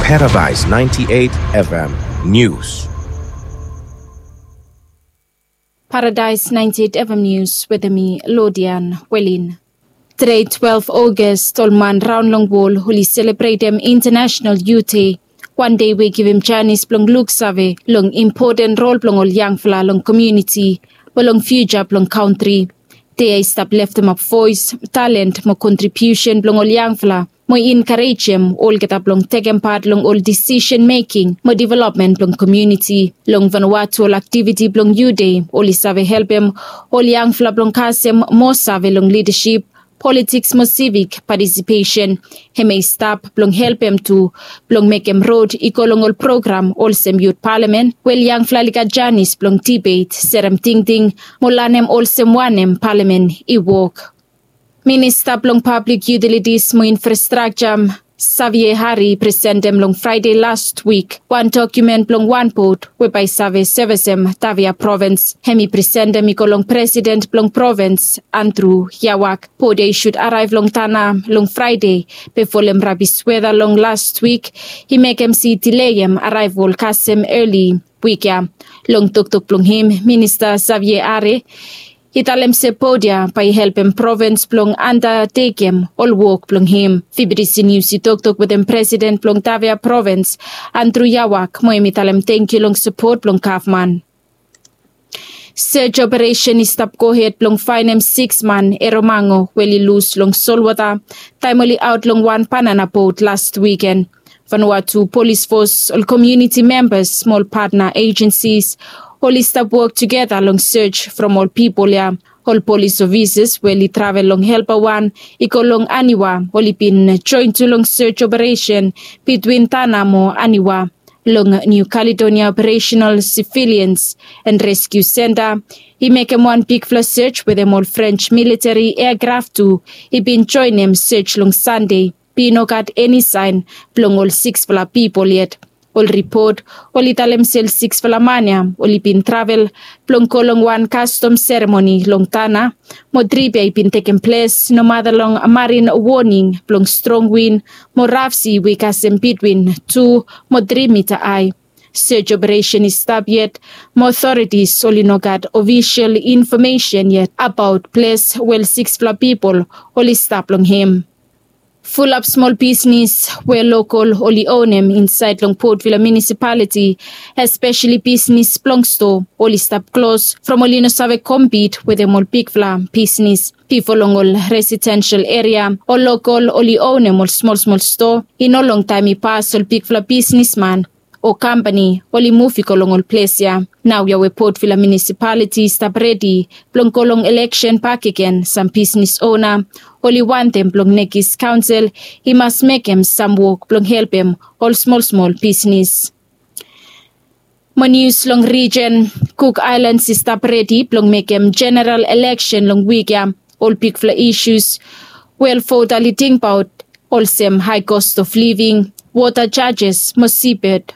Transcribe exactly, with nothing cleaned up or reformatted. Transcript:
Paradise ninety-eight F M News. Paradise ninety-eight F M News wetem mi, Lodian Welin. Tede twelve August, ol man raon long wol oli selebretem International Youth Day. Wan dei we givim janis blong luksave long impoten rol blong ol yangfala long komuniti mo long fiuja blong kantri. Dei ya i stap leftemap voes, talent mo kontribiusen blong ol yangfala mo enkarejem olgeta blong tekem pat long ol disisen meking mo developmen blong komuniti. Long Vanuatu ol aktiviti blong Youth Day oli save helpem ol yangfala blong kasem moa save long lidasip, politiks mo sivik patisipesen. Hemia i stap blong helpem tu blong mekem rod i go long ol program olsem yut palamen we ol yangfala oli gat janis blong dibet, serem tingting mo lanem olsem wanem palamen i wok. Minista blong Pablik Yutilitis mo Infrastrakja, Savie Hari, i presentem long Fraede las wik wan dokumen blong wan bot we bae i save sevesem Tavia provins. Hem i presentem i go long presiden blong provins, Andrew Yawak. Bot ya i sud araev long Tana long Fraede, be folem rabis weta long las wik i mekem se i dileem araevol kasem eli wik ya. Long toktok blong hem, Minista Savie Hari i talem se bot ya bae i helpem provins blong andatekem ol wok blong hem. Fibidisi Nius i toktok wetem presiden blong Tavia provins, Andrew Yawak, mo hem i talem tangkiu long sapot blong gavman. Sej operesen i stap gohed blong faenem siks man Eromango we oli lus long solwota taem oli aot long wan banana bot las wiken. Vanuatu polis fos, ol komuniti membas mo ol patna ejensis oli stap wok tugeta long sej from ol pipol ya. Ol polis ofisas we oli travel long helpa wan i go long Aniwa oli bin joen tu long sej operesen bitwin Tana mo Aniwa. Long Niu Kaledonia Operational Sivilians and Reskiu Senta i mekem wan bigfala sej wetem ol Frens militeri eakraf tu i bin joenem sej long Sande. Be i no gat eni saen blong ol siksfala pipol yet. Ol ripot oli talem se ol siksfala man ya oli bin travel blong go long wan kastom seremoni long Tana, mo trip ya i bin tekem ples nomata long marin woning blong strong win mo raf si we i kasem bitwin tu mo tri mita ae. Sej operesen i stap yet, mo otoritis oli no gat ofisol infomesen yet abaot ples we ol siksfala pipol oli stap long hem. Fulap smol bisnis we lokol oli onem insaed long Port Vila Munisipaliti, espeseli bisnis blong stoa, oli stap klos from oli no save kompit wetem ol bigfala bisnis. Bifo long ol residensel eria, ol lokol oli onem ol smol smol stoa. I no longtaem i pas ol bigfala bisnisman o kampani oli muv i go long ol ples ya. Naoia we Port Vila Munisipaliti i stap redi blong go long eleksen bakegen, sam bisnis ona oli wantem blong nekis kaonsel i mas mekem sam wok blong helpem ol smol smol bisnis. Mo nius long rijen, Cook Islands i stap redi blong mekem jeneral eleksen long wik ya. Ol bigfala isus we ol vota oli tingbaot olsem hae kos of living, wota jajes mo sibed